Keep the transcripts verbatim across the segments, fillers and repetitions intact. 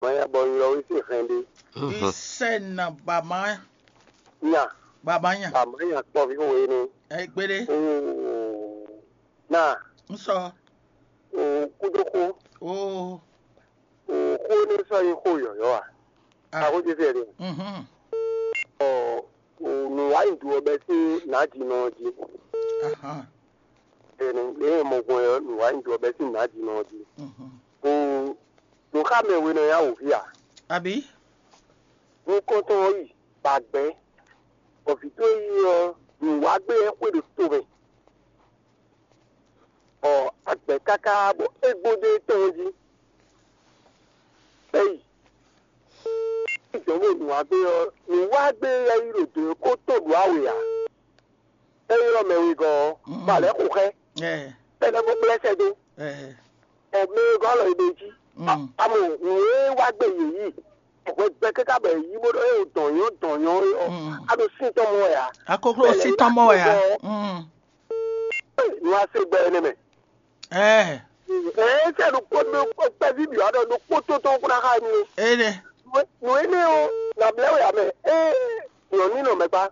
Maya bɔ ylɔ́ wé sín hɛn ɖé. Isɛna bama, Nya, bama nya. Bama nya kpɔví xo we nɛ. Egbede. Oo, na, Nsɔ. Oo, kúdó xó. Oo. Oo, xó nɛ sɔ nyí xó yɔyɔ a. Ah. Axó jésù yɛ ɖe. Mhm. Ɔ, oo, nǔ wá nyi du ɔbɛ sín nǎjínɔ jí. Aha. Ɛnɛ, lě e mɔ gbɔn ɔ́, nǔ wá nyi du ɔbɛ sín nǎjínɔ jí. Mhm. Oo, nǔ xa mɛ we nɔ ya wò ví a? Abi. Nukɔntɔn ɔ́ yi, ba gbɛ̌, bɔ vǐ towe yi ɔ́, nǔ wá gbé ɛ xwe ɖo to mɛ. Ɔ, agbɛ̌ káká bɔ é gbó dó étɔn jí. Bɛ́ yi. Jɔ̌n ɖo nǔ wá gbé ɔ́, nǔ wá gbé ɛ yi ɖo dǒ kó to ɖǒ awě ǎ. É ylɔ́ mɛ wegɔ́ ɔ́, bɔ alɛ̌ xo xɛ, Ɛ, bɔ é lɛ́ bó kplá sɛ́ dó. Ɛ, Ɔ, mɛ wegɔ́ alɔ e ɖo jí. Mm. Amɔ nǔ e wá gbé yě yi, hwɛ gbɛ káká bɔ yě yi bó ɖɔ é dɔn nyɔ́ dɔn nyɔ́ é ɔ́, Mm. A ɖo sín tɔn mɔ wɛ ǎ. Akoklo Bɛlɛ sí tɔn mɔ wɛ ǎ. Bɔ Mm. Nǔ a se gbɛ énɛ́ mɛ. Ɛ, Ɛɛ, sɛ ɖokpó ɖó kpɛví bǐ wá ɖɔ ɖokpó tó tɔn kó ná xá mi o. Ene. Nǔ énɛ́ ɔ́, nǎ blɛ́ wɛ ǎ mɛ. Ée nyɔ̌nu nɔ mɛ kpá.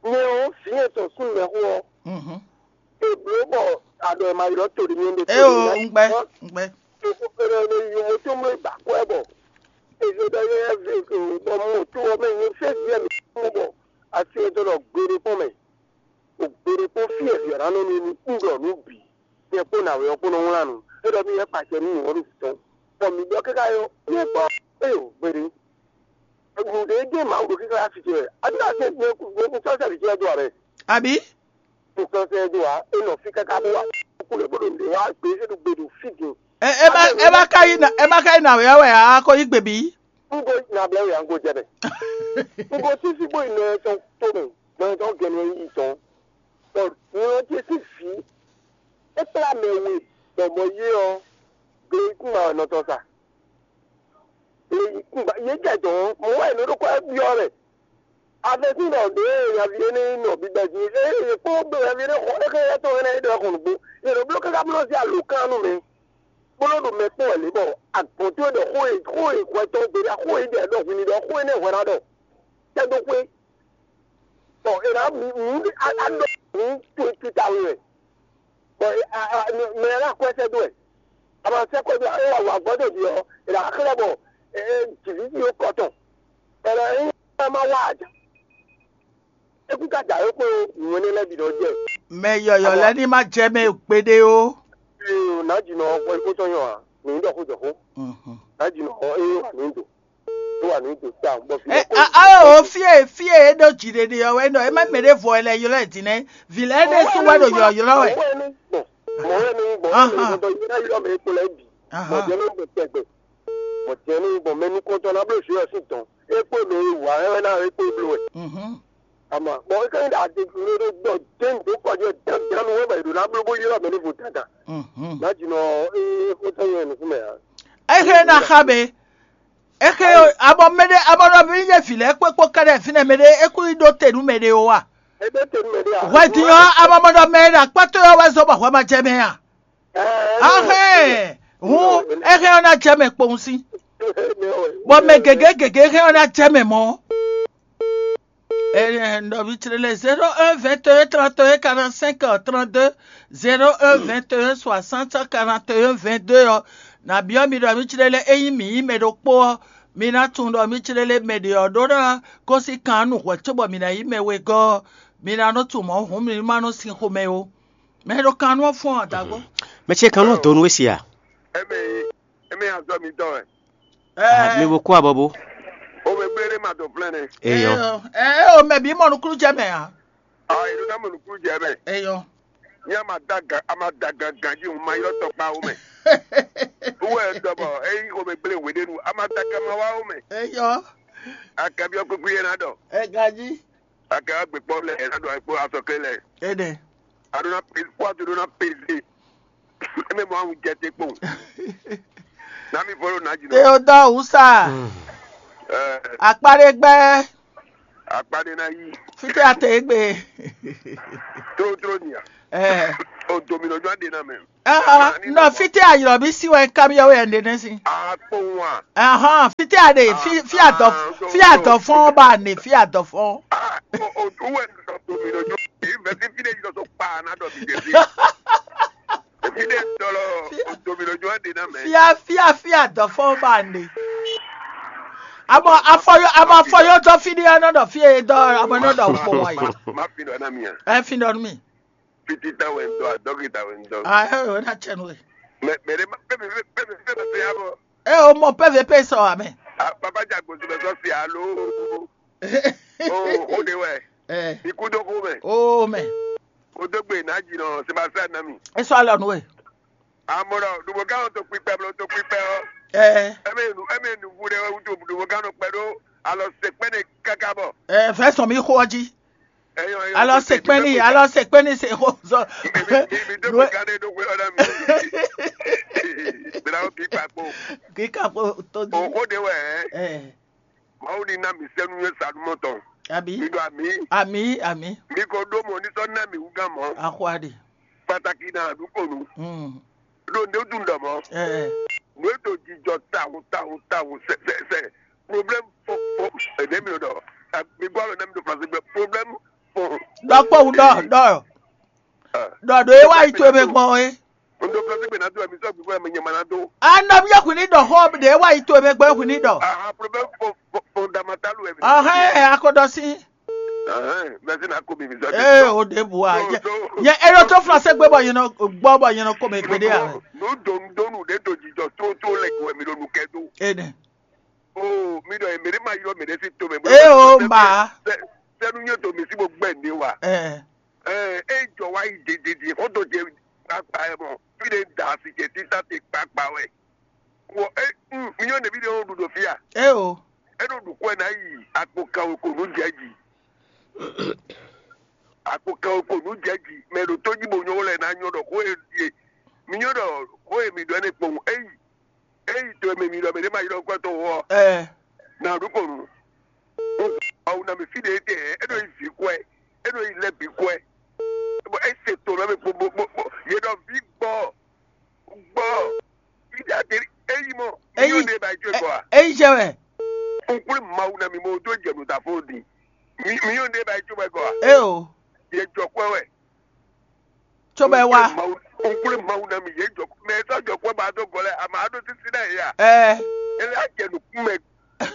Nyɛ ɔ́, vǐ nyɛ tɔn súnnu mɛ xó ɔ́, Mhm. è blǒ bɔ aɖɔ e ma ylɔ́ to ɖi nyɛ ɖe. Eo, un gbɛ, un gbɛ. Yovo tó mlɔ́ ba kwɛ bɔ eze ɖɔ yɛ ve bɔ mɔ to ɔ́ mɛ nyɛ fɛ́ vǐ mi mɔ bɔ asi e dó ɖɔ gbeɖé kpɔ́n mɛ. O gbeɖé kpɔ́n fí e vǐ ɔ́ ná nɔ nú un ɖɔ nǔ bǐ. Nyɛ kpó nǎwe ɔ́ kpó nɔ wlán nǔ. É ɖɔ mì wɛ kpacɛ nú nǔ ɔ́ ɖo tɔn. Bɔ mǐ ɖɔ káká ɔ́, nyɛ kpɔ́, éyo, gbeɖé. Nǔɖé gé Mawu ɖo kíká asi ce wɛ. Adi ná se ne ku ne ku sɔ́ sɛ́ vǐ ce wɛ dó ǎ mɛ. Abi? Ku sɔ́ sɛ́ dó ǎ, é nɔ fí káká bó wá. Kú lě bó ɖo nǔɖé wá gbé é ɖo gbe ɖo fí din. Ɛ, ɛ má, ɛ má ka yi na, ɛ má ka yi na wɛ wɛ a ko yi gbe bí? Un ko na blɛ wɛ a un ko jɛ mɛ. Un ko sísí bó yi nɔ ɛ tɔn to mɛ, nɔ ɛ tɔn gɛnɛ yi tɔn. Bɔ nɔ ce sín vǐ, é kplá mɛ we, bɔ mɔ yé ɔ́, gle yí kún ma wɛ nɔ tɔn sa. Gle yí kún ba, yé jɛ dɔn, mɔ wɛ nɔ ɖo kɔ ɛ byɔ́ mɛ. Afɛsín ɖɔ ɖě e nyaví énɛ́ nyí nɔ bíbɛ́ jí, ée yě kpó ɖo nyaví énɛ́ xɔ éxé étɔn énɛ́ é ɖɔ xɔ nǔgbó, yě nɔ bló káká bló zé alǒkan nú mɛ, bó nɔ́ ɖo mɛ kpɔ́n wɛ lě bɔ agbɔ̌n towe ɖɔ xó e xó e hwɛ tɔn gbe ɖa xó e ɖɛ ɖɔ hwin ɖɔ xó énɛ́ hwɛ ná ɖɔ tɛ́ dó xwé. Bɔ è nǎ mǐ mǐ a a ɖɔ mǐ to tuta we wɛ. Bɔ mɛ ɛ ná kɔ́ ɛ sɛ́ dó wɛ. A ma sɛ́ kɔ́ dó é wà wà gbɔ́ dó ɔ́, è nǎ xlɛ́ bɔ jǐví jí ó kɔ tɔn. Bɔ è nɔ nyí ɛ má wá ǎ. É kún ka dǎwe kpó nǔ énɛ́ lɛ́ɛ bǐ nɔ jɛ. Mɛ yɔyɔ lɛ́ɛ ní má jɛ mɛ gbeɖé ó. Ee, nǎjínɔ ɔ́, xó tɔn nyɔ ǎ, mǐ ní ɖɔ xó jɔ xó. Mhm. Nǎjínɔ ɔ́, é wà ní dǒ. É wà ní dǒ tawun, bɔ fí Ɛ, lɛ́ɛ kó a, a, o, fie, fie e ɖo jiɖeɖe ɔ́ wɛ nɔ, e ma mɛ ɖe vɔ lɛ ylɔ ɛ din nɛ, vi lɛ ɖe su wɛ ɖo ylɔ ylɔ wɛ. Mɔ̌ wɛ ní gbɔn, mɔ̌ wɛ ní gbɔn, Ahan. Mɛ gbɔn yɛ ná ylɔ mɛ kpo lɛ bǐ. Ahan. Mɔ̌ jẹ́ ní gbɔn tɛgbɛ. Mɔ̌ jẹ́ ní gbɔn mɛ nukɔntɔn ná bló suyɔ sín dɔn. É kpó mɛ e wǎ ɛ wɛ ná é kpó bló wɛ. Mhm. Ama, bɔn é ká nyí ɖe adegblo ɖó gbɔ jɛ́n dó kɔ jɛ dandan wɛ bɔ è ɖo ná bló bó ylɔ́ mɛ ní vo dandan. Mhm. Ná jǐ nɔ é xótɔ́ nyɛ nukún mɛ ǎ. Ehe na xa be. Ehe abɔ mɛɖe abɔ nɔ mi nye vi lɛ kpekpo kɛɖɛ fi nɛ mɛɖe eku yi ɖo te nú mɛɖe o wa. É ɖó te nú mɛ ɖé ǎ. Hwɛ din ɔ abɔ mɔ nɔ mɛ ɖe akpɔtɔ yɔ wɛ zɔ bɔ hwɛ ma jɛ mɛ a. Ahɛn, hun, ehe ɔ na jɛ mɛ kpowun si. Bɔ mɛ gěgé gěgé ehe ɔ na jɛ mɛ mɔ. Nɔ mi tsre lɛ zéro un vingt et un trente et un quarante-cinq trente-deux, zéro un vingt et un soixante quarante et un vingt-deux ɔ. Na biɔ mi ɖɔ mi tsre lɛ eyi mi yi mɛ ɖokpo ɔ, mi na tunwun ɖɔ mi tsre lɛ mɛ ɖe ɔ ɖó ná gosín kan nu hwɛ cóbɔ mi ná yi mɛ wegɔ́ ɔ, mi ná nɔ tunwun mɔ̌ hǔn mi ma nɔ sin xomɛ o. Mɛ ɖo kan nú ɔ fɔ́n adago. Mɛ ce kan nɔ do nú we si a? Eme eme azɔ mi tɔ wɛ. Ah, mi bo kú abɔbo. O bɛ gbére ma dɔ flɛn nɛ. Eyɔ. Ɛ o mɛ bí mɔ nukúnnú jɛ mɛ a? Ah, e ɖo ná mɔ nukúnnú jɛ mɛ. Eyɔ. Ní a ma da gan a ma da gan ganji o ma yɔ tɔkpa o mɛ. Wúwɛ dɔbɔ eyi o bɛ gblé wéɖénu a ma da gan ma wá o mɛ. Eyɔ. Akabi ɔkpɛkpɛ yẹn na dɔ. Ɛ ganji. Akɛ agbe kpɔ lɛ ɛna ɖo akpo asɔkɛ lɛ. Ede. Aɖo na pe kpɔ aɖo na peze. Eme mɔ awu jɛ te kpɔn. Na mi fɔlɔ na jina. Theodore Usa. Ɛɛ, Akpaɖegbɛ. Akpaɖe na yi. Fite ate egbe. Tro tro nia. Ɛɛ. O dominɔ jɔ ɖe na mɛ. Ah, nɔ fítɛ́ ayɔ̀bí sí wɛ kamiɔ́ wɛ ɛn ɖe nɛ́ sí. Akpɔn wa. Ahɔn fítɛ́ aɖe fí adɔ fí adɔ fɔn ba ne fí adɔ fɔn. Ah, o o wɛ nɔ dominɔ jɔ. Ìfẹ́ sí fí de jɔ so pa na dɔ mi de fi. Fi de dɔlɔ o dominɔ jɔ ɖe na mɛ. Fia fia fia dɔ fɔn ba ne. Amɔ afɔyɔ amɔ afɔyɔ dɔ fi de anɔ dɔ fi e dɔ amɔ nɔ dɔ kpɔ wa yi. Ma fi dɔ na mi a. Ɛ fi dɔ mi. Fiti ta wɛ n dɔ, dɔkita wɛ n dɔ. Ah, ɛ o na tsɛ nu e. Mɛ mɛ ɖe ma pɛ mɛ pɛ mɛ pɛ mɛ pɛ ya bɔ. E o mɔ pɛ vɛ pɛ sɔ amɛ. Ah, papa ja gosi bɛ sɔ si alo. O o de wɛ. Ɛ Iku dɔ ko mɛ. O mɛ. O dɔ gbe na dzi nɔ Sebastian na mi. E sɔ alɔ nu e. Amɔrɔ dubokan o to kpikpɛ blo to kpikpɛ o. Ɛ Ɛmɛ nu ɛmɛ nu bu ɖe wɛ wutu dubokan nɔ kpɛ ɖo alɔ sekpɛ ne kaka bɔ. Ɛ fɛ sɔn mi xo ɔdzi. Alɔ sekpɛni alɔ sekpɛni se xo zɔ. Mi dó mi kan ɖe ɖo xwe ɔ́ ná mi. Bla ó bí kpakpo. Kíkà kó tó di. O xó ɖe wɛ ɛ. Ɛ Mawu ní ná mi sɛ́ nú yé sanumɔ tɔn. Àbí. Mi ɖo àmì. Àmì àmì. Mi ko ɖó mɔ ní sɔ́ ná mi wú gán mɔ. Àxwáɖì. Pàtàkì náà àdúgbò nu. Mm. Ɖo ndé dun ɖɔ mɔ. Ɛ Nú é ɖo jijɔ tawun tawun tawun sɛ sɛ sɛ. Problème fɔ fɔ. Ɛdɛ mi ɖɔ. Mi gbɔ alɔ nɛ mi ɖo flansi gbɛ. Problème fɔ. Ɖɔ kpɔwu ɖɔ ɖɔ. Ɖɔ ɖo é wá yi to eme gbɔn é. N ɖo flansi gbɛ ná do ɛmi sɔ gbígbó ɛmi nyɛ ma ná do. Anɔ mi yɛ hwini ɖɔ xɔ ɖe é wá yi to eme gbɔn é hwini ɖɔ. Aha problème fɔ fɔ fɔ dama talu ɛmi. Ɔhɛn akɔdɔ sí. Ɛhɛn mɛsi na ko mi mi sɔ. Ee o de bu a yɛ yɛ e ɖo to flansi gbɛ bɔ yɛn nɔ gbɔ bɔ yɛn nɔ ko mɛ gbede a. Nú donu donu ɖe do jijɔ tó tó lɛ gbɔ ɛmi ɖo nu kɛ do. Ene. Oo, mi ɖɔ mɛ ɖé ma ylɔ́ mɛ ɖé sín tomɛ. Ée o, un ba. Sɛ́nú nyɔ́ to mǐ sí bó gbɛ́ nǔɖé wa. Ɛɛ, Ɛ ɛ jɔ wá yi dididi xó tó jɛ kpakpa ɛ mɔ. Fí ɖé da asi jɛ títà te kpakpa wɛ. Wɔ é un mi nyɔ́ nɛbí ɖé ó ɖu ɖo fí a? Ée o. É ɖo ɖu kɔ́ ɛ ná yi akpo kan wekonu jɛ ji. Akpo kan wekonu jɛ ji. Mɛ ɖo tó jí bo nyɔ́ lɛ ná nyɔ́ ɖɔ xó e mi nyɔ́ ɖɔ xó e mi ɖɔ ɛ nɛ kpɔ́n. É yi. Eyi to e mɛ mi ɖɔ mɛ ɖé ma ylɔ́ kwɛ́ tɔn wɔ. Ɛ Na ɖu kɔnu. Awu na mi fí ɖe tɛ, é ɖo yi vǐ kwɛ, é ɖo yi lɛ bǐ kwɛ. Bɔ é se to lɔ mɛ bo bo bo bo yě ɖɔ vǐ gbɔ gbɔ. Fí ɖe ate é yi mɔ. Eyi Yóò ɖe ba yi jó gbɔ a? Eyi jɛ wɛ. Nkúlé Mawu na mi mo dó jɛ nǔ da fó di. Mi mi yóò ɖe ba yi jó gbɔ a? E o. Yě jɔ kwɛ wɛ. Tso bɛ wá. Nkúlé Mawu na mi yě jɔ mɛ sɔ jɔ kwɛ ba dó gɔ lɛ àmà á ɖó sísí náà yà. Ɛ Ele á jɛ nǔkún mɛ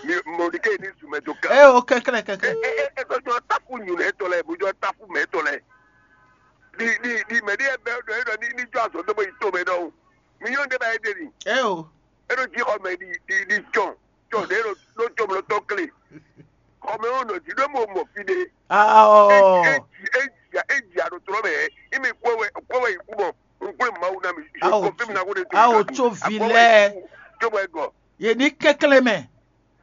mi Mɔdékai ní zun mɛ dó kan. Ɛ o kɛkɛlɛ kɛkɛ. Ɛ ɛ ɛ sɔ jɔ táfù nyù lɛ tɔ lɛ bó jɔ táfù mɛ tɔ lɛ. Di di di mɛ di ɛ bɛ ɖɔ é ɖɔ ní ní jɔ azɔ dó bó yi tó mɛ ɖɔhun. Mi nyɔ ɖé ba é ɖe ni. Ɛ o. É ɖo jí xɔ mɛ di di di jɔn jɔn ɖé ɖo ɖó jɔmlɔ tɔn kle. Xɔ mɛ ó nɔ jí ɖó mo mɔ fi ɖé. Ao. Eji eji eji aɖotɔnɔ mɛ imi kpɔ wɛ kpɔ wɛ yi kú mɔ nkplé Mawu na mi. Ao confirme na ko de to. Ao tso vi lɛ. Tso bɔ egɔ. Ye ni kɛklɛ mɛ.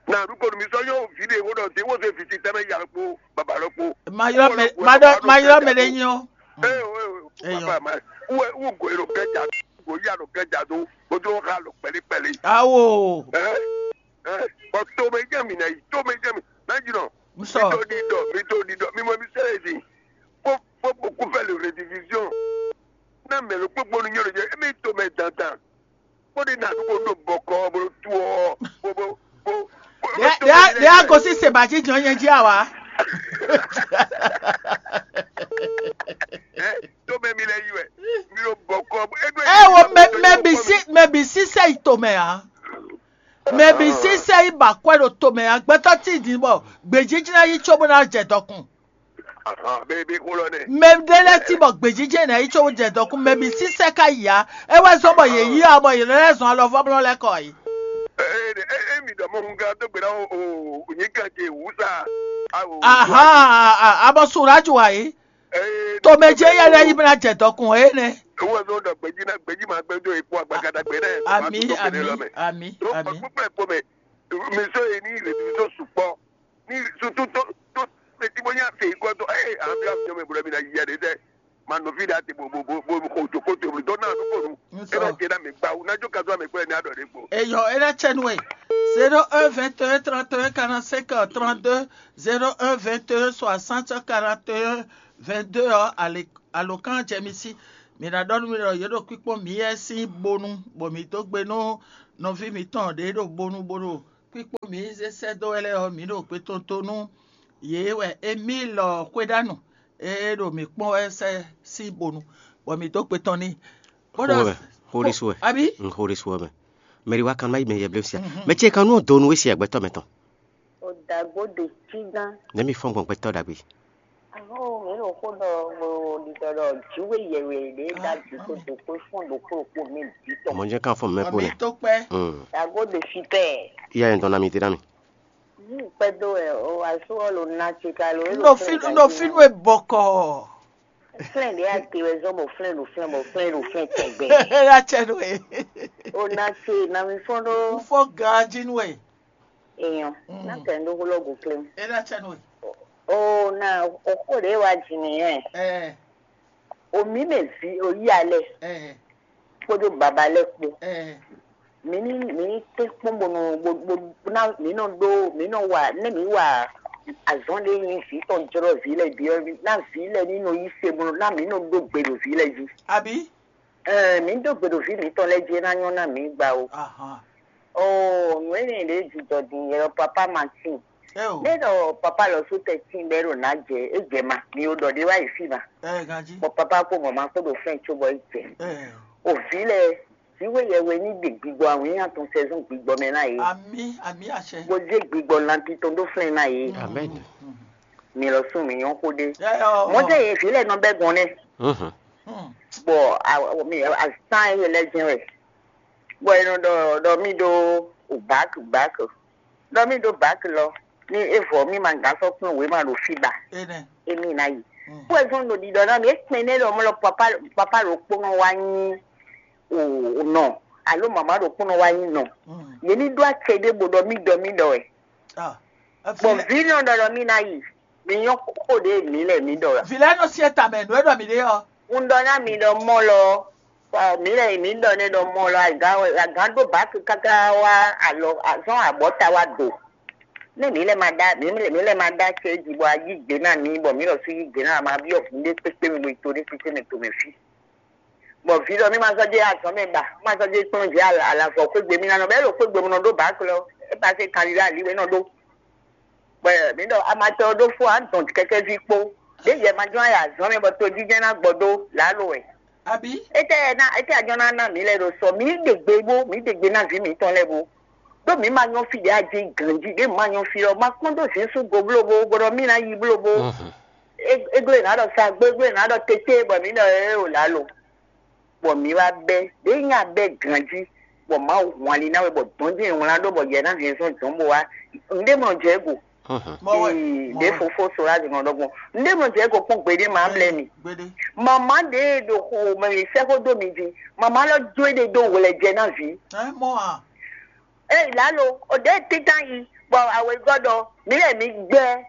Na du ko mi sɔ yɔ vi de wo dɔ de wo se fi ti tɛmɛ ya kpo baba lɔ kpo. Ma yɔ mɛ ma dɔ ma yɔ mɛ de nyi o. Ee o ee o papa ma. Wo wo go ero kɛ ja go ya lo kɛ ja do. O do ha lo pɛli pɛli. Ao. Ɛ ɛ bɔ to mɛ jɛ mi na yi to mɛ jɛ mi na yi nɔ. Nsɔ. Mi to di dɔ mi to di dɔ mi mɔ mi sɛ ezi. Faut faut beaucoup faire le rédivision. Na mɛ lo kpokpo nu nyɔ lo jɛ emi to mɛ dandan. Kpɔ́n ɖi nǎ ɖu bó ɖo bɔkɔ bó ɖo tu ɔ́ bó bó bó. Ɖe a gosí sèbàjí jɔn nyɛ jí àwa. Tó mɛ mi lɛ yi wɛ mi ɖo bɔkɔ. Ɛ wo mɛ mɛ bi sí mɛ bi sí sɛ yi tomɛ a. Mɛ bi sí sɛ yi ba kwɛ ɖo tomɛ a gbɛtɔ tí di bɔ gbèjíjí ná yí tso bó ná jɛ dɔkun. Mɛ ɖé lɛ́ɛ cí bɔ gbějijɛ nɛ́ yi có jɛ dɔkun mɛ bǐ sísɛ́ ká yi ǎ. É wɛ zɔ́n bɔ yě yí ɔ́ bɔ yě lɛ́ zɔn alɔvɔ́blɔ́ lɛ́ɛ kɔ yi. Emi ɖɔ mɔ hun gán dó gbe ná o nyǐkan ce wǔ sa. Ahan, abɔ Suraju wǎ yí. Tomɛ ce yɛ lɛ́ yi bó ná jɛ dɔkun é nɛ́. Wọ́n zɔn ɖɔ gbèjì náà gbèjì máa gbẹ́ tó ikú àgbàkadà gbé náà. Àmì àmì àmì àmì. Gbogbo ẹ̀ kpó mẹ́ mi sọ èyí ní ìrètí mi sọ sùpọ̀. Ni surtout tó tó mɛ tí mo ní àfẹ́ ikọ́ tó ẹ àbí àfẹ́ mi bolo mi na yíyá de tẹ ma nọ fi da te bo bo bo bo ko to ko to bo dɔn na nu ko nu. E na jẹ na mi gba o na jo ka sọ mi pẹ ni a dɔ de gbo. Eyɔ e na tsɛ nu e zéro un vingt et un trente et un quarante-cinq trente-deux, zéro un vingt et un soixante quarante et un vingt-deux ɔ, alě alǒkan jɛ mi sí. Mǐ ná ɖɔ nú mi ɖɔ yě ɖo kpíkpɔ́n mǐ wɛ sín bonu, bɔ mǐ dó gbe nú nɔví mǐtɔn ɖě ɖo bonu bó ɖo kpíkpɔ́n mǐ zé sɛ́ dó wɛ lɛ́ɛ ɔ́, mǐ ɖo gbe tɔn tó nú yě wɛ Emílɔ Xwéɖánɔ e ɖo mǐ kpɔ́n wɛ sɛ́ sín bonu, bɔ mǐ dó gbe tɔn n'i. Bó ɖɔ Xó wɛ, xó ɖésú wɛ. Abí? Un xó ɖésú wɛ mɛ. Mɛɖi wá kan má yi mɛ yɛblɛ́ sia. Mɛ ce kan nú ɔ́ do nú we sia gbɛtɔ́ mɛtɔn. O dàgbò de cí gán. Nɛ̌ mi fɔ́n gbɔn gbɛtɔ́ ɖagbe? Ahó, mǐ ɖo xó ɖɔ ɖiɖɔ ɖɔ jǐwe yɛwɛ ɖě ɖ'ajǐ kó do kó fɔ́n ɖokpó ɖokpó mɛ bǐ tɔn. Mɔ̌ jɛ́n kan fɔ́n mɛ kpó nɛ́. Mǐ tó kpɛ́. Dàgbò de cí pɛ. Iya yɛn dɔn ná mi dé ná mi. Ní kpɛ́ dó wɛ o asú ɔ́ lo ná ce ka lo. N ɖo fínú e bɔkɔ. Flɛ́n ɖě a te wɛ zɔ́n bɔ flɛ́n ɖo flɛ́n bɔ flɛ́n ɖo flɛ́n tɛgbɛ. Ela cɛ nú e. O ná ce na mi fɔ́n ɖó. N fɔ ganjí nú e. Èèyàn ná kɛ ń ɖó xó lɔ́gùn kplé. Ela cɛ nú e. O na o xó ɖě wá jì mí yẹn. Ɛ O mǐ mɛ vǐ o yí alɛ ɛ kpódó baba lɛ́ɛ kpó. Ɛ Mǐ ní mǐ ní tɛ́nkpɔ́n bó nɔ bó bó ná mǐ nɔ ɖó mǐ nɔ wa nɛ́ mǐ wa azɔn ɖé nyi vǐ tɔn jlɔ́ vǐ lɛ́ɛ bǐ ɔ́ ná vǐ lɛ́ɛ ní nɔ yí se bó ná mǐ nɔ ɖó gbe ɖo vǐ lɛ́ɛ jí. Abi. Ɛɛ mǐ ɖó gbe ɖo vǐ mǐtɔn lɛ́ɛ jí é ná nyɔ́ ná mǐ gba o. Ahan. Oo nǔ énɛ́ ɖě jijɔ din yɛ ɖɔ papá Martin. Eo. Nɛ ɖɔ papa lɔ sú tɛ tín bɛ ɖo nǎ jɛ é jɛ ma mi o ɖɔ ɖé wá yi fí ma. Ɛ ganjí. Bɔ papa kpó mama kpó ɖo fɛn có bɔ é jɛ. Ɛ. O vǐ lɛ vǐwe yɛwe ní ɖe gbigbɔ awǐnnya tɔn sɛzɔn gbigbɔ mɛ ná yě. Ami ami àṣẹ. Bó dé gbigbɔ lanti tɔn ɖó flɛn ná yě. Amen. Mi lɔ sún mi nyɔ́ xó ɖé. Ɛ ɔ. Mɔjɛ yě vǐ lɛ nɔ bɛ gɔn nɛ. Mhm. Hmm. Bɔ a- mi azán yɛ lɛ jɛn wɛ. Bɔ è nɔ ɖɔ ɖɔ mí ɖó bak bak. Ɖɔ mí ɖó bak lɔ ní é vɔ mí ma gǎn sɔ́ kplɔ́n wěma ɖo fí ba. Énɛ́. Émí ná yi. Mm. Kú ɛ zɔ́n ɖo ɖiɖɔ ná mì é kpɛn nɛ́ ɖɔ mɔ lɔ papa papa ɖokpónɔ wá nyí o nɔ alo mama ɖokpónɔ wá nyí nɔ. Mm. Yě ní ɖó acɛ ɖé bó ɖɔ mí ɖɔ mí ɖɔ wɛ. Ah. Bɔ Vile- vǐ nɔ ɖɔ ɖɔ mí ná yi. Mi nyɔ́ xó ɖě mǐ lɛ mǐ ɖɔ wɛ. Vile nɔ siɛ tamɛ nǔ e ɖɔ mǐ ɖe ɔ́. Un ɖɔ ná mi ɖɔ mɔ lɔ ɔ, mǐ lɛ mǐ ɖɔ nɛ ɖɔ mɔ lɔ agǎn wɛ agǎn ɖó bǎki káká wá alɔ azɔn abɔta wá do. Nɛ mǐ lɛ ma ɖá mǐ lɛ mǐ lɛ ma ɖá cɛ jí bɔ a yí gbe ná mi bɔ mǐ lɔ sú yí gbe ná ma byɔ́ hǔn ɖé kpékpé mi to ɖé kpékpé mi to mɛ fí. Bɔ vǐ ɖɔ mí ma sɔ́ jɛ azɔn mɛ ba má sɔ́ jɛ kplɔ́n jɛ alavɔ xwégbe mí ná nɔ bɔ é ɖo xwégbe mɔ nɔ ɖó bǎki lɔ é ba se kan ɖiɖe ali wɛ nɔ ɖó. Bɔ mǐ ɖɔ amatɔ ɖó fó a dɔn kɛkɛ́ví kpó ɖě yɛ ma jɔ́n ayɛ azɔn mɛ bɔ tojijɛ ná gbɔ dó lǎlo wɛ. Abi. Étɛ́ ná étɛ́ a jɔ́n ná ná mǐ lɛ́ɛ ɖo sɔ mǐ ɖe gbe bó mǐ ɖe gbe ná vǐ mǐtɔn lɛ́ɛ bó. Ɖó mǐ ma nyɔ́ fí ɖě a jɛ ganjí ɖě ma nyɔ́ fí ɔ́ ma kpɔ́n dó zǐn sú go blóbo bó ɖɔ mí ná yi blóbo. Églé ná ɖɔ sagbó églé ná ɖɔ tété bɔ mǐ ɖɔ ée o lǎlo. Bɔ mǐ wá bɛ́ ɖě nya bɛ́ ganjí bɔ Mawu hun ali ná we bɔ dɔ̌n jɛ́n wlán ɖó bɔ yɛ ná hɛn zɔ́n dɔ̌n bó wá. Nǔɖé mɔ jɛ go. Mɔ wɛ. Ii ɖě fofó Solage nɔ ɖɔgbɔn nǔɖé mɔ jɛ go kpɔ́n gbeɖé ma mlɛ mi. Gbede. Mama ɖě ɖo xo mɛ mi sɛ́ xó dó mi jí. Mama lɔ jó é ɖe dó wlɛ jɛ ná vǐ. Ɛ mɔ a. Ée lǎlo o ɖě títán yi bɔ awěgɔ́ ɖɔ mǐ lɛ mǐ gbɛ́.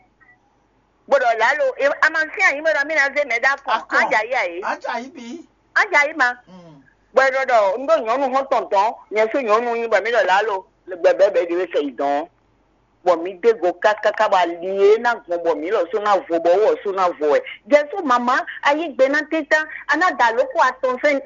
Bó ɖɔ lǎlo, e- a ma fín anyǐ bó ɖɔ mí ná zé mɛ ɖó akɔn. Akɔn. Á jɛ ayé ayé. Á jɛ ayé bí. Á jɛ ayé ma. Mm. Bɔ é ɖɔ ɖɔ un ɖó nyɔ̌nu xɔ́ntɔn dɔn, nyɛ sú nyɔ̌nu nyí bɔ mí ɖɔ lǎlo, gbɛbɛ́bɛ́ ɖi wé kɛ yi dɔn. Bɔ mí dé go kákáká bɔ ali e ná gbɔn bɔ mí lɔ sú ná vo bɔ wɔ sú ná vo wɛ. Jɛsú mama, ayé gbe ná títán, a ná da lóko atɔn fɛn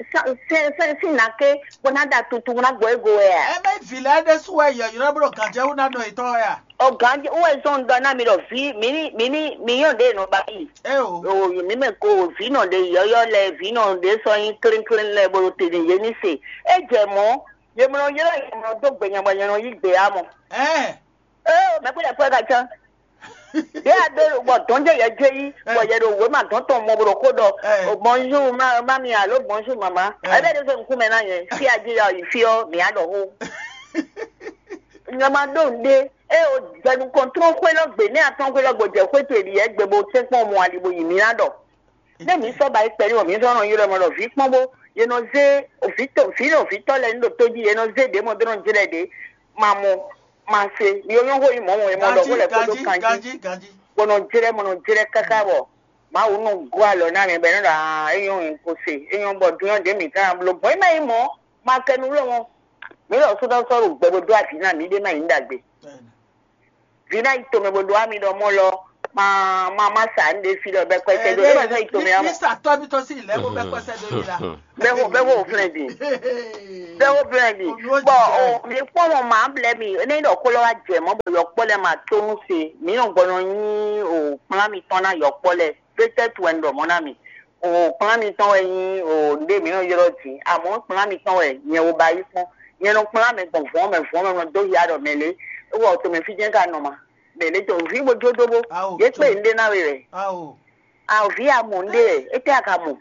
fɛn fɛn sín ná ké, bó ná da tutu ná gbɔ é go wɛ a? Ɛ mɛ vǐ lɛ́ɛ ɖésú wɛ yɔ̌yrɔ́ bó ɖo gǎnjɛwú ná nɔ yětɔn wɛ a? Ɔ gǎnjɛ wɛ zɔn ɖɔ ná mi ɖɔ vǐ mi ní mi ní mi nyɔ́ ɖě nɔ ba yi. Eo. O mi mɛ ko vǐ nɔ ɖe yɔ́yɔ́ lɛ vǐ nɔ ɖě sɔ́ nyí klínkín lɛ bó ɖo te n'i yě ní se. É jɛ mɔ̌, yě mɔ nɔ ylɔ́ yě mɔ nɔ dó gbe nya bɔ nya nɔ yí gbe á mɔ. Ɛɛ. Eo mɛ kpé ɖaxó ɛ ka cán. Yě a ɖó bɔ dɔn jɛ yɛ jɛ yí bɔ yɛ ɖo wěma dɔn tɔn mɔ bó ɖo xó ɖɔ. Ɛ. O bonjour ma ma mi alo bonjour mama. Ɛ. Ɛ bɛ ɖe fɛ nukún mɛ ná yɛ. Fí a jí ya yi fí ɔ mi a ɖɔ xó. Nyama ɖó ŋɖe, eye wòjɛ nukɔn tlɔ́n xwé lɔ gbe, nɛ́ a tlɔ́n xwé lɔ gbo jɛ xwé towe ɖi yɛ gbe bó tɛ́nkpɔ́n mɔ ali bó yi mǐ ná ɖɔ. Nɛ́ mǐ sɔ́ ba yi kpɛɖé mɔ mǐ sɔ́ nɔ ylɔ́ mɔ ɖɔ vǐ kpɔ́n bó, yě nɔ zé vǐ tɔn vǐ nɔ vǐ tɔn lɛ́ɛ ní ɖo tó jí, yě nɔ zé ɖě mɔ dó nɔ jlɛ́ ɖě, ma mɔ, ma se, mi nyɔ́ xó yi mɔ̌ mɔ, è mɔ ɖɔ xó lɛ́ kpódó kanjí, bó nɔ jlɛ́ mɔ nɔ jlɛ́ káká bɔ Mawu nɔ gɔ́ alɔ ná mɛ bɔ é nɔ ɖɔ aa, é nyɔ́ ko se, é nyɔ́ bɔ dúnyɔ́ ɖě mǐ ká ná bló gbɔn, é má nyí mɔ̌, ma kɛ nu wlɔ́ mɔ, mǐ lɔ sɔ́ ɖɔ sɔ́ ɖo gbɛ bó dó avǐ ná mǐ ɖé má nyí ɖagbe. Vǐ ná yi tomɛ bó ɖó ami ɖɔ mɔ lɔ ma ma ma sa nu ɖe fi ɖɔ bɛ kpɛtɛ do e ma zɔn yi to mɛ amɔ. Mísà tɔ́ mi tɔ́ sí ìlẹ́wọ́ bɛ kpɛsẹ́ do mi la. Bɛ wo bɛ wo flɛ di. Bɛ wo flɛ di. Bɔn o mi kpɔn mɔ ma blɛ mi ne ɖɔ kó lɔ wa jɛ mɔ bɔ yɔkpɔ lɛ ma to nu se mi nɔ gbɔnɔ nyi o kplán mi tɔn na yɔkpɔ lɛ. Pétɛt wɛ n ɖɔ mɔ na mi o kplán mi tɔn wɛ nyi o nde mi nɔ yrɔ di amɔ kplán mi tɔn wɛ nyɛ wo ba yi kpɔn. Nyɛ nɔ kplán mɛ gbɔn vɔn mɛ vɔn mɛ nɔ do ya ɖɔ mɛ le. E wɔ to mɛ fi jɛ ka nɔ ma. Bɛ̌ lě tɔn vǐ bó jó dó bó. Yě kpe nɖé ná we wɛ. Ao vǐ a mɔ nɖé wɛ, étɛ́ a ka mɔ?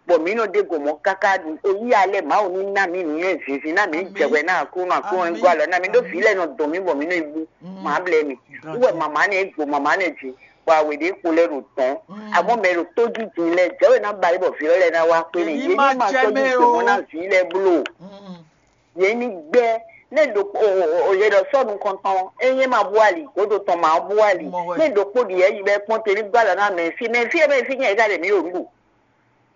Bɔ mǐ nɔ ɖe gɔ̌n mɔ káká ɖu eyí alɛ Mawu ní ná mǐ nǔnywɛ́ zǐnzín ná mǐ jɛ hwɛ ná Aklúnɔ Aklúnɔ ní gɔ́ alɔ ná mǐ ɖó vǐ lɛ́ɛ nɔ dɔn mǐ bɔ mǐ nɔ yi bú. Má blɛ́ mì. Wú wɛ mama nɛ́ gbo mama nɛ́ jí, bɔ awě ɖě kpo lɛ́ɛ ɖo dɔ̌n. Amɔ́ mɛ ɖo tó jí din lɛ́ɛ jɛ̌ wɛ ná ba yí bɔ vǐ ɔ́ lɛ́ɛ ná wá kpé n'i. Yě ní ma sɔ́ jí gbe mɔ ná vǐ lɛ́ɛ bló. Yě ní gbɛ́. Nɛ́ ɖokpó o o o yě ɖɔ sɔ́ nukɔntɔn é nyí ma bú ali, gǒdo tɔn ma bú ali. Nɛ́ ɖokpó ɖi yɛ yi bɛ kpɔ́n te ní gbá lɔ ná mɛ fí mɛ fí mɛ fí nyɛ ka ɖe mǐ ɖo nǔ ɖu.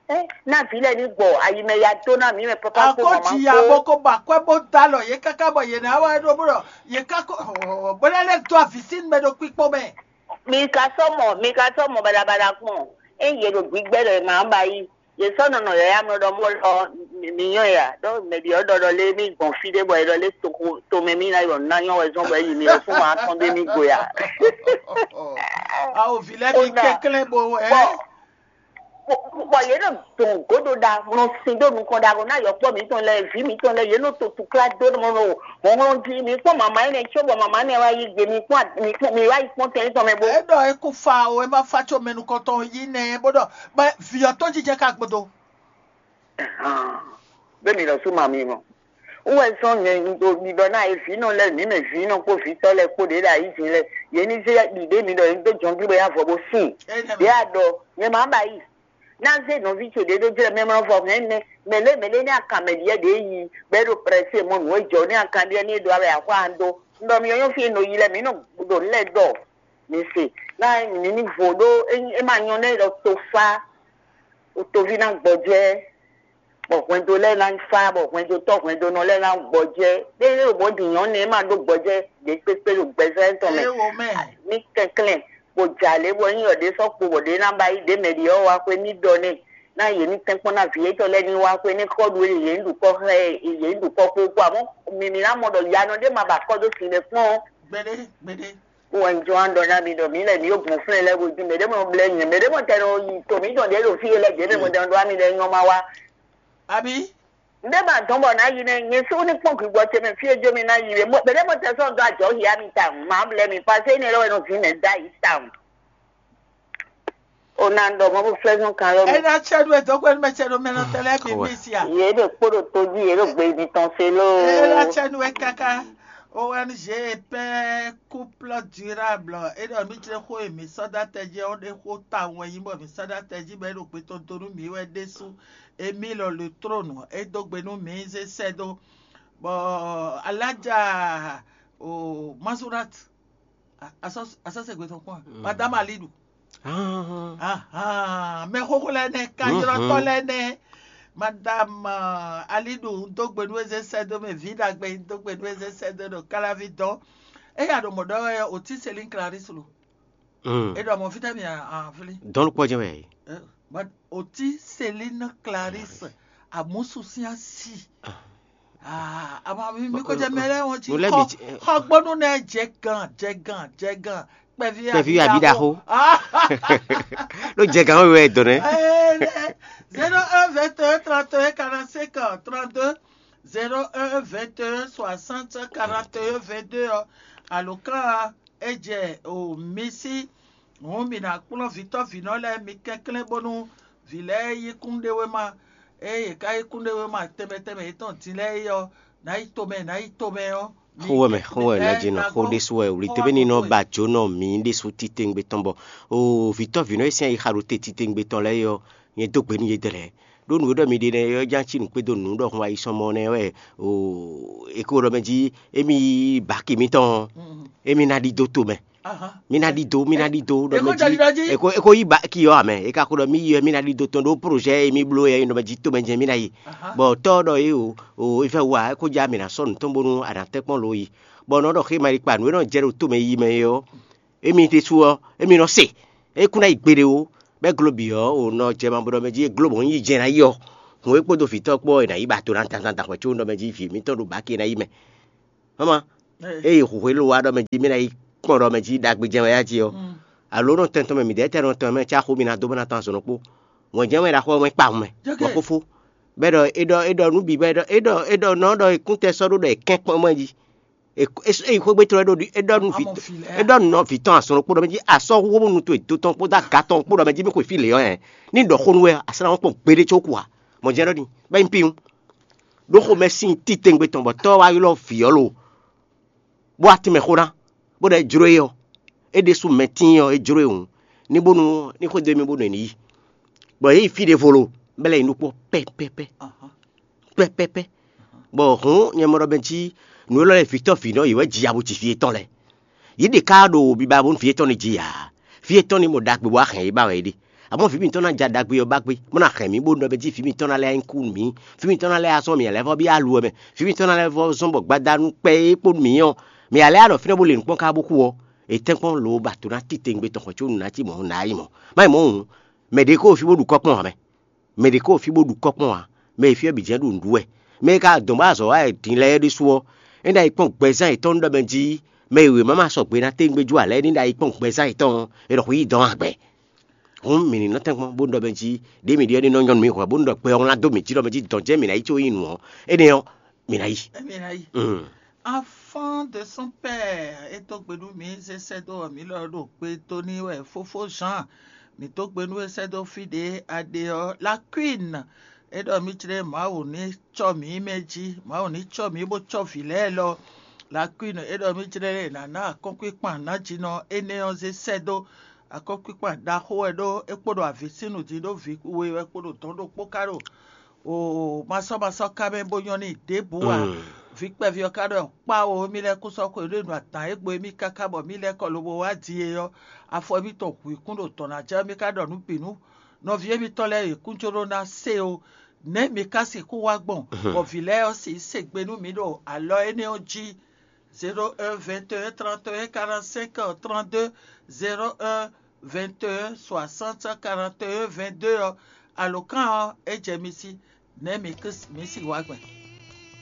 Ɛ ná vǐ lɛ́ɛ ní gbɔ ayi mɛ ya dó ná mǐ mɛ papa kó mama kó. Akɔji abo ko ba kwɛ bó da lɔ yě káká bɔ yě ná wá ɖó bó ɖɔ yě ká kó bó ná lɛ́ dó avǐ sín mɛ ɖo kpikpó mɛ. Mi ka sɔ́ mɔ mi ka sɔ́ mɔ baɖabaɖa kpɔn. É yě ɖo gbígbɛ́ ɖɔ è ma ba yí. Yě sɔ́ nɔ nɔ yǎyá mlɔ́ ɖɔ mɔ lɔ mi nyɔ́ ya ɖɔ mɛ ɖi ɔ́ ɖɔ ɖɔ lé mì gbɔn fí ɖé bɔ è ɖɔ lé tomɛ mì ná yɔ ná nyɔ́ wɛ zɔ́n bɔ é yi mi ɔ́ fún ma tɔn ɖé mì go ya. Awo vǐ lɛ́ɛ mi kɛnklɛ́n bo ɛ. Bɔ yě nɔ dɔn gǒdo ɖa nɔ sin ɖó nukɔn ɖaxó ná yɔkpɔ́ mǐtɔn lɛ́ɛ vǐ mǐtɔn lɛ́ɛ yě nɔ to tukla dó nɔ hlɔ́nhlɔ́n jí mi kpɔ́n mama énɛ́ có bɔ mama énɛ́ wá yí gbe mi kpɔ́n mi wá yi kpɔ́n tɛn tɔn mɛ bó. É ɖɔ é kú fa o, é má fa có mɛ nukɔntɔn yí nɛ bó ɖɔ bɔ vǐ ɔ́ tɔn jijɛ ka gbodo. Bẹ́ẹ̀ mi lọ sú màmí mọ́. Wọ́n wɛ sɔ́ nyɛ ɖiɖɔ ná e vǐnɔ lɛ́ɛ mǐ mɛ vǐnɔ kpó vǐtɔ́ lɛ́ɛ kpó ɖě ɖo ayǐjǐn lɛ́ɛ. Yě ní zé ɖiɖě mi ɖɔ yě dó jɔnví bɔ yá vɔ bó sin. Ɖě a ɖɔ nyɛ má ba yi. Ná zé nɔví ce ɖě ɖó jlɛ́ mɛ mlɔ́ vɔ hɛn nɛ mɛ lě mɛ lě ní akan mɛ ɖíɛ ɖě yi bɔ é ɖo prɛsé mɔ nǔ e jɔ ní akan ɖíɛ ní é ɖó awɛ axwá an dó. Un ɖɔ mi ɔ́ nyɔ́ fí e nɔ yi lɛ́ɛ mǐ nɔ ɖo nǔ lɛ́ɛ ɖɔ. Mi se ná mi ní vo ɖó é má nyɔ́ nɛ́ ɖɔ tofá. Toví ná gbɔjɛ́, bɔ hwɛndo lɛ́ɛ ná fá, bɔ hwɛndotɔ́ hwɛndonɔ lɛ́ɛ ná gbɔjɛ́. Ɖé ɖo bɔ ɖi nyɔ̌nu e ma ɖó gbɔjɛ́ ɖě kpékpé ɖo gbɛzɔ́ tɔn mɛ. Ní kɛnklɛ́n, bó jɛ alě bɔ nyí ɖě sɔ́ kpo bɔ ɖě ná ba yí ɖě mɛ ɖě ɔ́ wá xwé ní ɖɔ n'i, ná yě ní tɛ́nkpɔ́n ná vǐ yětɔn lɛ́ɛ ní wá xwé ní xɔ ɖu yě ní ɖu kɔ́ xlɛ́ yě ní ɖu kɔ́ xó kpó amɔ́ mi mi ná mɔ ɖɔ yanɔ ɖé ma ba kɔ́ dó sin ɖé kpɔ́n. Gbeɖé gbeɖé. Wɔ njɔ an ɖɔ ná mi ɖɔ mǐ lɛ mǐ yó gbɔn flɛ́n lɛ́ɛ gojú mɛ ɖé mɔ blɛ́ nyɛ mɛ ɖé mɔ tɛ nɔ yi to mǐ dɔn ɖě ɖo fí e lɛ jɛ mɛ mɔ dɛn ɖó ami lɛ nyɔ ma wá. Abi. Ndé ma dɔn bɔ ná yi nɛ nyɛ só ní kpɔn gbígbɔ ce mɛ fí e jó mi ná yi wɛ mɛ ɖé mɔ tɛ sɔn dó ajɔ hia mi ta ma blɛ́ mi pasé ní lɛ wɛ nɔ vǐ mɛ dá yi ta. O na ɖɔ mɔ bó flɛ́ zɔn kan lɔ mi. Ena tsɛ ɖu edɔgbe nu mɛ tsɛ ɖo mɛ nɔ tɛ lɛ bi mi sia. Yě ɖo kpó ɖo tó jí yě ɖo gbe mi tɔn se ló. Ena tsɛ nu wɛ kaka. O N G pɛ couple durable e ɖɔ mi jlɛ xó e mi sɔ́ dó atɛ jí ɔ́ ɖe xó tawun wɛ nyí bɔ mi sɔ́ dó atɛ jí bɔ é ɖo gbe tɔn dó nú mi wɛ ɖésú. Emile le trône e dó gbe nú mi zé sɛ́ dó. Bɔ alájà o Mazurat asɔ́ asɔ́ sɛ́ gbe tɔn kpɔ́n a. Madame Alidu. Ahan, mɛ xóxó lɛ́ɛ nɛ́, kanyɔ́tɔ́ lɛ́ɛ nɛ́. Madame Alidu, un dó gbe nú we zé sɛ́ dó mɛ, vǐ ɖagbe, un dó gbe nú we zé sɛ́ dó ɖo Kalavi dɔn. Eya ɖo mɔ̌ ɖɔ wɛ Oti Selin Clarisse lo. E ɖɔ mɔ fítɛ́ mi aflí. Dɔn kpɔ́ jɛ wɛ. Oti Selin Clarisse, amusu sín asi. Ama mi mi ko jɛ mɛ lɛ wɔn ti xɔ xɔ gbɔnu nɛ jɛ gan jɛ gan jɛ gan. Kpɛvi abi ɖaxo. Ló jɛ gan wɛ dɔn nɛ. Zéro un vingt et un trente et un quarante-cinq trente-deux, zéro un vingt et un soixante quarante et un vingt-deux ɔ alo kan e jɛ o mi sí. Hǔn mǐ ná kplɔ́n vǐtɔ́vǐnɔ lɛ́ɛ mi kɛnklɛ́n bónú vǐ lɛ́ɛ yí kúnɖéwéma. Ée yě ká yí kúnɖéwéma tɛnmɛ tɛnmɛ yětɔn din lɛ́ɛ é ɔ́, ná yi tomɛ ná yi tomɛ ɔ́. Xó wɛ mɛ, xó wɛ ná jɛ nɔ xó ɖésú wɛ wlí tɛ́ bɛ́ ní nɔ ba jǒnɔ mǐ ɖésú titewungbe tɔn bɔ o vǐtɔ́vǐnɔ e sín ayixa ɖo te titewungbe tɔn lɛ́ɛ é ɔ́, nyɛ dó gbe nú yědɛɛ lɛ́ɛ. Ɖó nǔ e ɖɔ mi ɖe nɛ́ é ɔ́ ján cí nǔ kpédó nǔ ɖɔhun ayisɔnmɔ nɛ́ wɛ o è ko ɖɔ mɛ jí émí baki mitɔn émí ná ɖidó tomɛ. Mí ná ɖidó mí ná ɖidó ɖɔ mɛ jí è ko yí baki ɔ́ amɛ è ka ko ɖɔ mí yi wɛ mí ná ɖidó tɔn ɖó projet e mí bló yɛ é nɔ mɛ jí tomɛ jɛ́n mí ná yi. Bɔ tɔ́ ɔ́ ɖɔ é o o é fɛ́ wú a é ko já mǐ ná sɔ́ nǔ tɔn bónú a nǎ tɛ́nkpɔ́n lo yi. Bɔ nɔ ɖɔ xéma e kpa nǔ e nɔ jɛ ɖo tomɛ yi mɛ é ɔ́ Émi ɖésú ɔ́, émi nɔ se. É kún ná yi gbeɖé ó. Bɛ́ glo bǐ ɔ́, wǒ nɔ jɛ ma bo ɖɔ mɛ jí é glo bɔ un yi jɛ ná yi ɔ́, hǔn é kpódó vǐtɔ́ kpó ɔ́, è nǎ yi ba to ná dandan dan hwɛ̌ có ɖɔ mɛ jí vǐ mǐtɔn ɖo bǎ ke ná yi mɛ. Mama, eye hǔhwelú wa ɖɔ mɛ jí mí ná yi kpɔn ɖɔ mɛ jí ɖagbe jɛ́n wɛ yá jí ɔ́, alo nɔ tɛn tɔn mɛ mǐdɛɛ tɛn nɔ tɔn mɛ cá xó mi ná dó bó ná tɔn azɔn ɖokpó. Wɛn jɛ́n wɛ ɖaxó ɔ́ wɛn kpawun mɛ, wɛn xófó. Bɛ́ ɖɔ é ɖɔ é ɖɔ nǔ bǐ bɔ é ɖɔ é ɖɔ é ɖɔ nɔ ɖɔ è kún tɛ sɔ́ ɖó ɖɔ è kɛ́n kpɔ́n mɛ jí. É xwé gbe tlɔ́ é ɖo é ɖɔ nú vǐ é ɖɔ nú vǐ tɔn azɔn ɖokpó ɖɔ mɛ jí asɔ́ hu nu towe do tɔn kpódó aga tɔn kpó ɖɔ mɛ jí mí xwe fí lě ɔ́ hɛn. Ní ɖɔ xó nú wɛ a sɔ́ ná kpɔn gbeɖé có kú ǎ. Mɔ jɛ́n ɖɔ ni bɛ́ nyí píwún. Ɖó xomɛ sín titewungbe tɔn bɔ tɔ́ wá ylɔ́ vǐ ɔ́ lo, bó wá tínmɛ xó ná, bó ɖɔ é jló é ɔ́, é ɖésú mɛ tíin ɔ́, é jló e hǔn, ní bónú ní xwedó émí bónú è ní yi. Bɔ yě yi fí ɖěvo lo, bɔ é lɛ́ yi nukpɔ́ pɛ́pɛ́pɛ́, pɛ́pɛ́pɛ́. Bɔ hǔn nyɛ mɔ ɖɔ mɛ jí nǔ élɔ́ lɛ́ɛ vǐtɔ́ vǐnɔ yě wɛ ji ya bó ci fí yětɔn lɛ́ɛ. Yě ɖe ká ɖo biba bónú fí yětɔn ní ji ǎ. Fí yětɔn ní mɔ ɖagbe bó wá hɛn yě ba wɛ é ɖe. Amɔ̌ vǐ mǐtɔn ná ja ɖagbe ɔ́ ba gbé, bó ná hɛn mǐ bónú ɖɔ mɛ jí vǐ mǐtɔn ná lɛ́ nyí kú nú mǐ. Vǐ mǐtɔn ná lɛ́ azɔ́ mǐ lɛ́ vɔ bí alu ɔ́ mɛ. Vǐ mǐtɔn ná lɛ́ vɔ zɔ́n bɔ gbadanu kpɛ é kpó nú mǐ ɔ́, mǐ ǎ lɛ́ anɔ fínɛ́ bó le nǔkpɔ́n ká bó kú ɔ́, è tɛ́nkpɔ́n lo ba to ná titewungbe tɔn xɔ có nǔ ná cí mɔ̌ ná yi mɔ̌. Má nyí mɔ̌ hǔn, mɛ ɖě kó fí bó ɖu kɔ́ kpɔ́n ǎ mɛ. Mɛ ɖě kó fí bó ɖu kɔ́ kpɔ́n ǎ. Mɛ e fí ɔ́ bǐ jɛ́n ɖo nǔɖuɖu wɛ. Mɛ e ka dɔn bó azɔ̌ wa wɛ din lɛ́ɛ ɖésú ɔ́, é ná yi kpɔ́n gbɛzán yětɔn nú ɖɔ mɛ jí mɛ e wěma ma sɔgbe ná tɛ́ngbé jó ǎ lɛ́ɛ ní ná yi kpɔ́n gbɛzán yětɔn ɔ́, è nɔ xwǐ yi dɔn agbɛ. Hǔn mǐ ní nɔ tɛ́nkpɔ́n bó ɖɔ mɛ jí ɖěe mǐ ɖyɔ́ ɖe nɔ nyɔ́ nú mǐ hwɛ̌ bónú ɖɔ gbɛ ɔ́ wlán dó mǐ jí ɖɔ mɛ jí dɔn jɛ́n mǐ ná yi có nyí nǔ ɔ́, énɛ́ ɔ́, mǐ ná yi. Mǐ ná yi. Mm. Enfant de son père, é dó gbe nú mǐ, zé sɛ́ dó ɔ́, mǐ lɔ ɖo gbe dó n'i wɛ fófó Jean. Mǐ dó gbe nú é sɛ́ dó fí ɖě a ɖe ɔ́, la Queen. É ɖɔ mǐ jlɛ́ Mawu ní cɔ mǐ mɛ jí, Mawu ní cɔ mǐ bó cɔ vǐ lɛ́ɛ lɔ. La Queen, é ɖɔ mǐ jlɛ́ lě ná ná akɔ́nkpíkpan nǎjínɔ énɛ́ ɔ́ zé sɛ́ dó. Akɔ́nkpíkpan ɖaxó wɛ ɖó é kpo ɖo avǐ sín nǔ jí ɖó vǐ we wɛ kpo ɖo dɔ̌n ɖokpó ká ɖo o masɔ́masɔ́ ká mɛ bó nyɔ́ n'i ɖěbǔ ǎ. Vǐ kpɛví ɔ́ ka ɖɔ kpá o émí lɛ́ɛ kún sɔ́ xwe ɖó nu adǎn e gbo émí káká bɔ mǐ lɛ́ kɔ lobo wá din e ɔ́, afɔ émítɔn hu i kún ɖo dɔ̌n ná jɛ mí ka ɖɔ nǔ bǐ nú nɔví émítɔn lɛ́ɛ e kún jló ná se o. Nɛ̌ mi ka sixú wá gbɔn bɔ vǐ lɛ́ɛ ɔ́ sixú se gbe nú mǐ ɖo alɔ énɛ́ ɔ́ jí? Zéro un vingt et un trente et un quarante-cinq trente-deux, zéro un vingt et un soixante quarante et un vingt-deux ɔ́, alǒkan ɔ́ é jɛ mi sí. Nɛ̌ mi kún mi sixú wá gbɔn?